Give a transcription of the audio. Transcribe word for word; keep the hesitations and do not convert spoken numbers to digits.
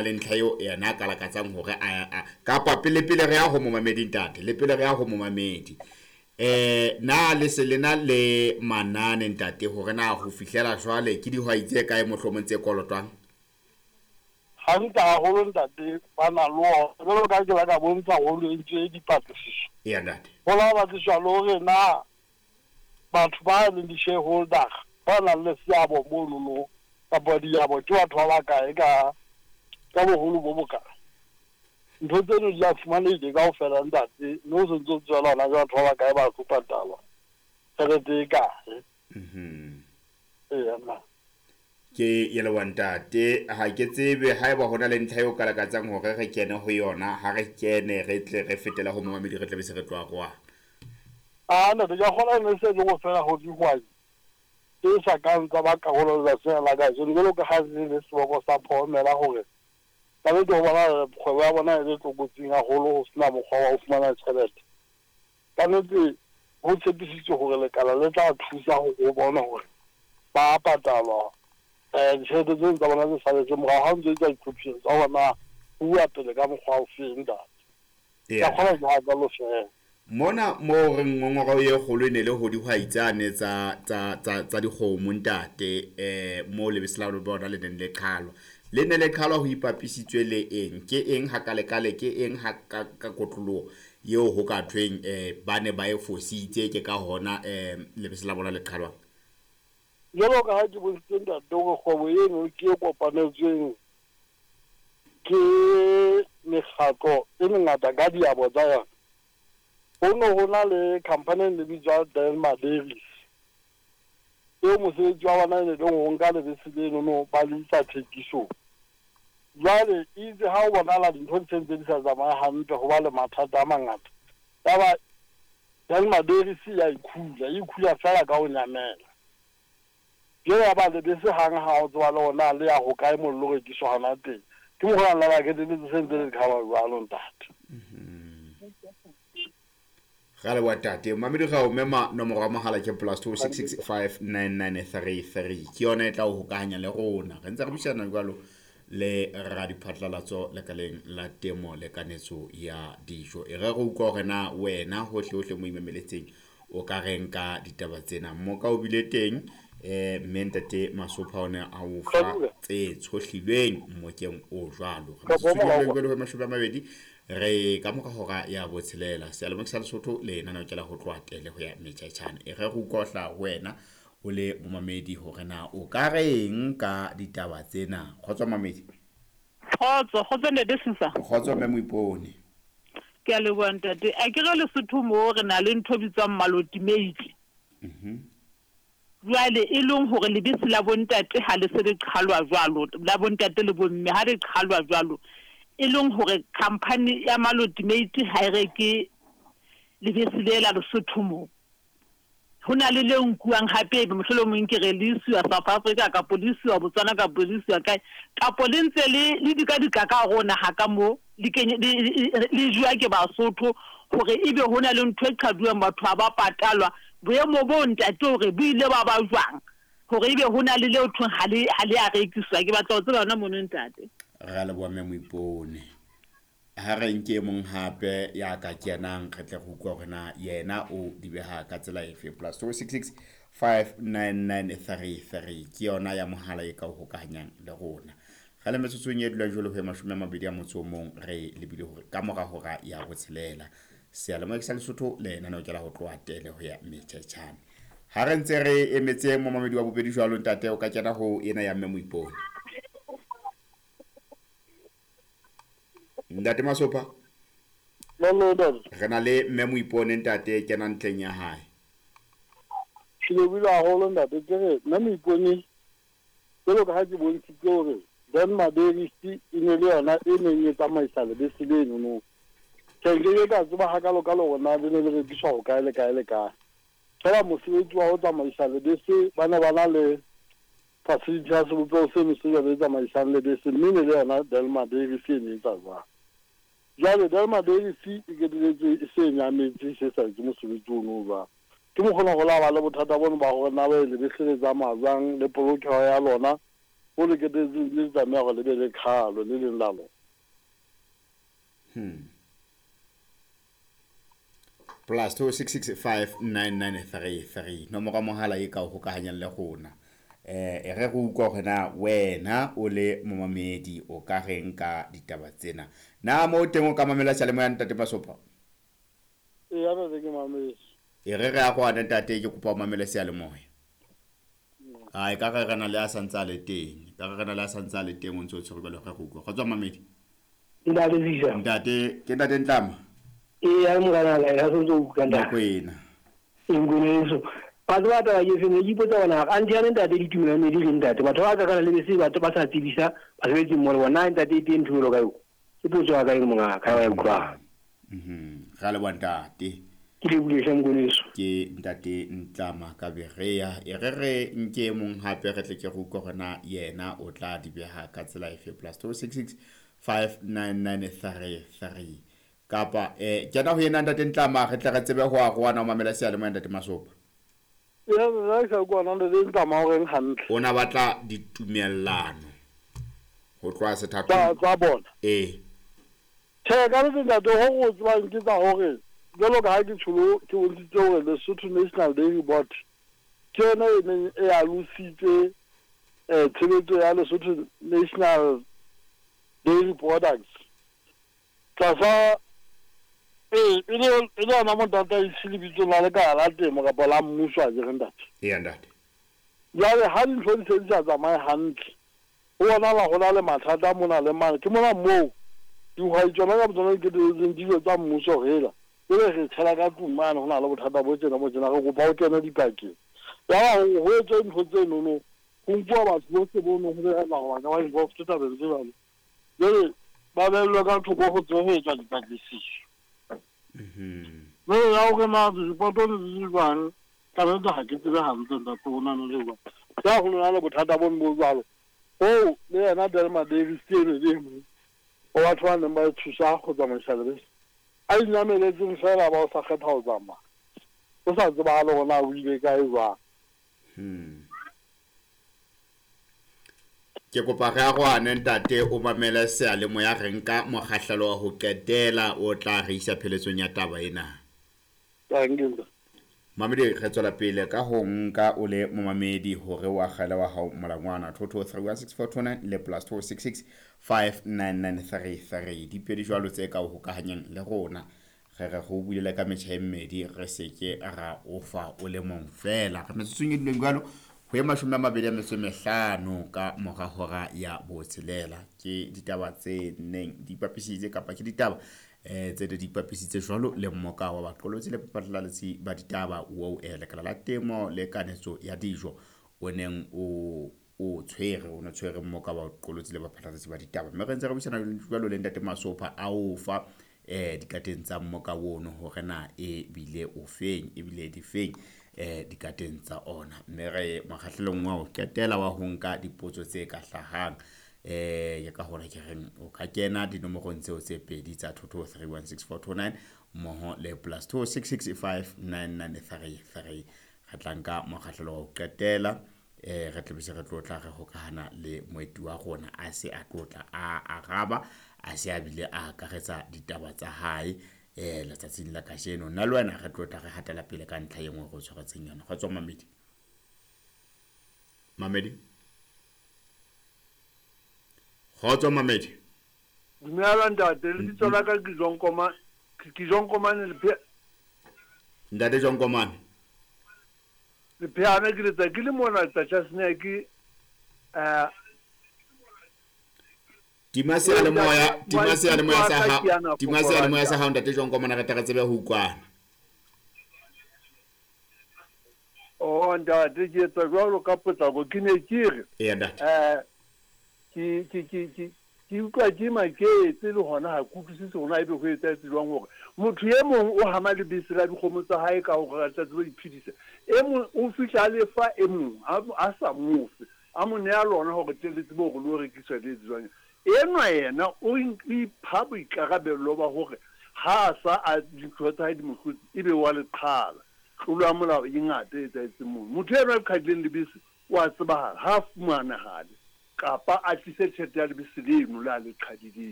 Le ntlha eo yena a ka lakatsang hore a kapa pele pele re ya ho momamedi ntate, le pele re ya ho momamedi. Eh na le se lena le manane ntate hore na ho fihlela jwale ke dihwai tse kae mohlomong tse kolotwang? Hantle haholo ntate, ba na le ona. Jwalo ka ke la ka bontsha haholo e ntse dipatlisiso. Eya ntate. Ho la batliswa le hore na batho ba leng di-shareholder ba nang le seabo monono kapa diabo ke batho ba bakae ka ka boholo bo bokae. Ntho tseno di a fumanehile kaofela ntate, mme o sentse o tswela hona ke batho ba bakae ba tlo patalwa tjhelete e kae. Mhm. Eya nna. Ke ye leboha ntate, ha ke tsebe haeba hona le ntlha eo ka lakatsang hore re kene ho yona, ha re kene re tle re fetela ho momamedi re tle be se re tloha kwano. Ah ntate, ke a kgolwa e ne se le ho fela ho dihwai tse sa kang tsa ba karolo letsatsing la kajeno, jwalo ka ha le le seboko sa phomela hore ka nnete ho bona kgwebo ya bona e le tlokotsing haholo, ho sena mokgwa wa ho fumana tjhelete. Ka nnete ho tshepisitswe hore lekala le tla thusa ho bona hore ba patalwa eh ditjhelete tseno tsa bona tse saletseng morao, ha o ntso etsa ditlhophiso tsa hore na ho uwa pele ka mokgwa o feng ntate. Ke a kgolwa ke hakalo feela. Mona moo re ngongoreo e kgolo e ne le ho dihwai tsane tsa tsa tsa tsa dikgomo ntate, eh moo lebese la bona le neng le qhalwa. Le ne le qhalwa ho ipapisitswe le eng? Ke eng hakalekale, ke eng ha ka ka kotloloho eo ho ka thweng eh ba ne ba e fositse, ke ka hona eh lebese la bona le qhalwang? Jwalo ka ha ke bontshitse ntate hore kgwebo eno ke e kopanetsweng ke mekgatlo e mengata ka diabo tsa yona. Ho no ho na le company e ne bitswa Delma Dairies, eo mosebetsi wa bona e ne leng ho nka lebese lenono ba le isa thekisong. Jwale itse ha o bonahala dintho di sentse di sa tsamaye hantle, ho ba le mathata a mangata, yaba Delma Dairies ya ikhula, e ikhula feela ka ho nyamela. Jwale ya ba lebese hang ha o tseba le hore na le ya hokae moo le lo rekiswa hona teng. Ke mokgwa ona la keteletse se ntse le qhalwa jwalo ntate. Ra leboha ntate. Mamedi ra o mema nomoro ya mohala ke plus two six six five nine nine three three. Ke yona e tla o hokahanya le rona. Re ntse re buisana jwalo le radiphatlalatso lekaleng la temo le kanetso ya dijo. E re re utlwa hore na wena hohle hohle mo imameletseng o ka reng ka ditaba tsena. Mmoka o bile teng eh mme ntate Masopha o ne a o fa tse tshohlilweng mmokeng o jwalo. Re metsotso e mashome a mabedi re ka mora hora ya botshelela. Seyalemoya sa Lesotho le lenaneo ke la ho tloha tele ho ya metjhaitjhane. E re re utlwa ho hlaha ho wena o le momamedi hore na o ka reng ka ditaba tsena. Kgotso mamedi. Kgotso, kgotso ntate Susa. Kgotso mme Moipone. Ke a leboha ntate. A ke re Lesotho moo re na le ntho e bitswang malotimeitli. Mhm. Jwale e leng hore lebese la bontate ha le se le qhalwa jwalo, la bontate le bomme ha le qhalwa jwalo, e leng hore company ya malotimeiti ha e reke lebese le la Lesotho moo. Ho na le le nkuwang hape ebe mohlolomong ke re le isiwa South Africa kapo le isiwa Botswana kapo le isiwa kae, kapo le ntse le le dikadika ka hare ho naha ka moo, le kenye le le jowa ke Basotho hore ebe ho na le ntho e qhaduwang batho ha ba patalwa. Boemo bo ntate hore bo ile ba ba jwang hore ebe ho na le leo thweng ha le ha le a rekiswa. Ke batla ho tseba hona mono ntate. Ra leboha mme Moipone. Ha re nke e mong hape ya ka kenang re tle re utlwe hore na yena o di beha ka tsela efe. Plus two six six five nine nine three three ke yona ya mohala e ka o hokahanyang le rona. Re le metsotsong e dulang jwalo ho ya mashome a mabedi a motso o mong re lebile hore ka mora hora ya botshelela. Seyalemoya sa Lesotho le lenaneo ke la ho tloha tele ho ya metjhaitjhane. Ha re ntse re emetse momamedi wa bobedi jwalo ntate, o ka kena ho ena ya mme Moipone. Ntate Masopha. Re na le mme Moipone ntate, kena ntleng ya hae. Ke lebohile haholo ntate, ke re mme Moipone jwalo ka ha ke bontshitse hore Delma Dairies e ne le yona e neng e tsamaisa lebese leno. Ke nke ka tseba hakalo-kalo hore na le ne le rekiswa ho kae le kae le kae. Feela mosebetsi wa ho tsamaisa lebese ba ne ba na le facility ya sebopeho seno se jwalo e tsamaisang lebese, mme ne le yona Delma Dairies e ne etsa jwalo. Jwale Delma Dairies e keteletse e se e nyametse, e se sa etse mosebetsi ono o jwalo. Ke mokgona ho la ba le bothata bono ba hore na ba lebese le tsamaya jwang le polokeho ya lona ho le ketetseng le tlameha hore le be le qhalo le leng la lona. Hmm. Plus two six six five nine nine three three. Nomoro mohala e ka o hokahanyang le rona. Eh e re re utlwa hore na wena o le momamedi o ka reng ka ditaba tsena. Na mo teng o ka mamela seyalemoya ntate Masopha? E ya ntate ke mametse. E re re a go ana ntate ke kopa o mamele seyalemoya. Ai ka re re na le a santse a le teng. Ka re re na le a santse a le teng o ntse o tshwere jwalo re go utlwa. Kgotsa mamedi. Ntate Zisa. Ntate ke ntate Ntlama. E ya morana la ya sentse o utlwa ntate. Mokwena. Ngweneso. Batho ba taba ke feng ke ipotsa bona anti ya ntate ditumelo di re ntate batho ba ka kana le bese batho ba sa tsebisa basebetsi mmoho le bona ntate e teng ntho ka eo. Ke potso ya ka e monga ka ya utlwa. Mhm. Ra le wa ntate. Ke le bule hle ngweneso. Ke ntate Ntlama ka Berea. E re re nke mong hape re tle ke go utlwa hore yena o tla di beha ka tsela efe. Plus two six six five nine nine three three. Kapa eh kena ho yena ntate Ntlama re tle re tsebe ho a go ana o mamela seyalemoya ntate Masopha. Ya nna ke kwa nna le Ntlama o reng hantle. O na batla ditumellano ho tloha sethatong tsa tsa bona. Eh. Tjhe ka le ntate ho go tsebang ke tsa hore jwalo ka ha ke tsholo ke bontshitse hore Lesotho National Dairy Board ke yona e neng e alositse eh tshebetso ya Lesotho National Dairy Products. Tlasa e e le e le ona motataisi lebitso la lekala la temo kapa la mmuso a ke re ntate. Eya ntate. Jwale ha dintho di se di sa tsamaye hantle, ho bonahala ho na le mathata mona le mane. Ke mona moo dihwai tsona ka botsona di ketelletseng dijo tsa mmuso hela. Ebe re tshela ka tlung mane ho na le bothata bo tjena bo tjena re kopa o kene dipakeng. Yaba ho etswe ntho tse nono ho nkuwa batho bohle bo nong ho belaela hore ba ka ba involved tabeng tse jwalo. Jwale ba behellwe ka thoko ho tsebe ho etswa dipatlisiso. Mhm. Jwale ya hore na direpoto di le jwang, ka nnete ha ke tsebe hantle ntate ho na le jwang. Ya ho na le bothata bo bo jwalo. Oo le yena Delma Davis ke ene le mong wa batho ba neng ba thusa go tsamaisa lebese. A inyameletseng fela ba o sa kgetha ho tsamaya. O sa tsebahale hore na o ile kae jwang. Hmm. Ke kopa re arohane ntate o mamele seyalemoya re nka mokgahlelo wa ho qetela o tla re isa pheletsong ya taba ena. Thank you. Mamedi re tswela pele ka ho nka o le momamedi hore wa kgale wa hao molangwana two two three one six four two nine le plus two six six five nine nine three three. Dipedi jwalo tse ka o hokahanyang le rona. Re re go bulela ka metjha e mmedi re seke ra ofa o le mong fela. Re metsotsong e dileng jwalo ho ye mashome a mabedi a metso e mehlano ka mora hora ya botshelela. Ke ditaba tse neng di ipapisitse kapa ke ditaba eh tse di ipapisitse jwalo le mmoka wa baqolotsi le baphatlalatsi ba ditaba o eh lekala la temo le kanetso ya dijo o neng o o tshwere o no tshwere mmoka wa baqolotsi le baphatlalatsi ba ditaba. Mme re ntse re buisana jwalo le ntate Masopha a o fa eh dikateng tsa mmoka ono hore na e bile o feng e bile di feng eh dikateng tsa ona. Mme re mokgahlelong wa ho qetela wa ho nka dipotso tse ka hlahang eh ke ka hore ke reng o ka kena dinomorong tseo tse pedi tsa two two three one six four two nine mmoho le plus two six six five nine nine three three. Re tla nka mokgahlelo wa ho qetela eh re tle bese re tlo tla re hokahana le moeti wa rona a se a tlotla a araba a se a bile a akaretsa ditaba tsa hae eh letsatsing la kajeno. Nna le wena re tlotla re hatela pele ka ntlha e nngwe go tshwaretseng yona. Kgotso mamedi. Mamedi. Kgotso mamedi. Dumela ntate, lebitso la ka ke John Komane, ke John Komane le Ntate John Komane. Le pheana ke letsa ke le mona tsa ke eh Tima seyalemoya, tima seyalemoya sa hao, tima seyalemoya sa hao ntate John Komane re tla re tsebe ho utlwana. Oh ntate ke etsa jwalo ka potlako ke ne ke re. Eya ntate. Eh ke ke ke ke ke utlwa ke maketse le hona ha ke utlwisise hore na ebe ho etsahetse jwang hore motho e mong o hama lebese la dikgomo tsa hae ka hore a tla tsebe ho iphedisa. E mong o fihla a lefa e mong a sa mo fe, a mo neha lona hore tle le tsebe hore le o rekiswa le etse jwang. Enwa yena o ipha boikarabello ba hore ha a sa a dintho tsa hae di mo hlotse ebe wa le qhala. Tlolo ya molao e ngata e etsahetseng mono. Motho enwa a qhadileng lebese o a tsebahala, ha a fumanahale. Kapa a tlise tjhelete ya lebese leno le a le qhadileng.